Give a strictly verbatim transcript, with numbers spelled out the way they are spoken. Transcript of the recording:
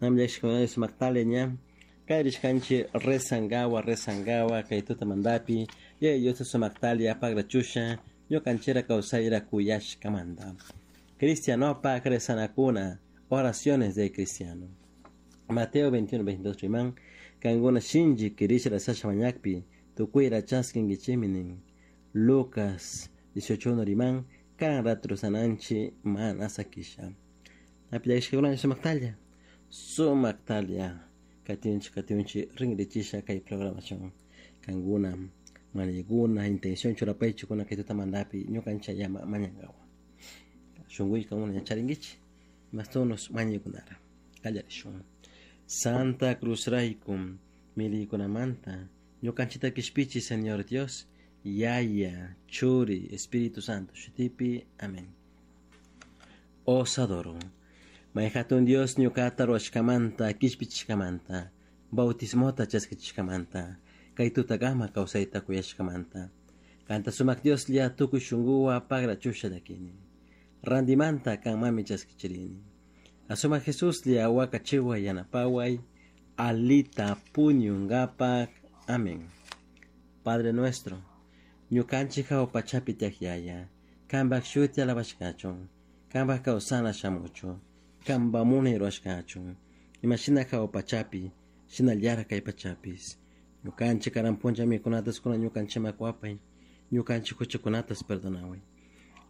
Namllashkuna sumaktalla ña kayrishkanchik rezangawa rezangawa kay tutamantapi Yaya Diosta sumaktalla pagrachusha ñukanchikra kawsayra kuyashkamanta. Cristianopak rezanakuna, oraciones de cristiano. Mateo veintiuno veintidós riman, kankuna shinchi kirisha rezasha mañakpi tukuyra chaskinkichikmi nin. Lucas dieciocho uno riman, karan rato rezananchik mana sakisha. Napillashkakuna sumaktalla, sumaktalla katinchik katinchik rinrichisha kay programación kankuna mañaykuna intención churapaychikuna kay tutamantapi ñukanchik llama mañankawa. Shunkuy kankuna ñacharinkichik mastunos mañaykunara qallarishun. Santa Cruz raykum miliykunamanta ñukanchikta kishpichi Señor Dios, Yaya, Churi, Espíritu Santo shutipi. Amén. Os adoro. May hatun Dios ñuqata ruwashkamanta kishpichishkamanta bautismota chaskichishkamanta kay tutakama kawsayta kuyashkamanta kanta sumak Dioslla tukuy shunquwa pagrachusha llakini randimanta kanmami chaskichirini asumak Jesuslla wakachiway yanapaway alita puñunkapak. Amén. Padre nuestro, ñukanchik hawa pachapi tiyak Yaya, kanpak shuti alabashkachun, kanpak kawsana shamuchun, kanpa munay ruwashkachun, imashina hawa pachapi, shinallara kay pachapis. Ñukanchik karan puncha mikunatas kuna ñukanchikman kuwapay, ñukanchik huchakunatas perdonaway.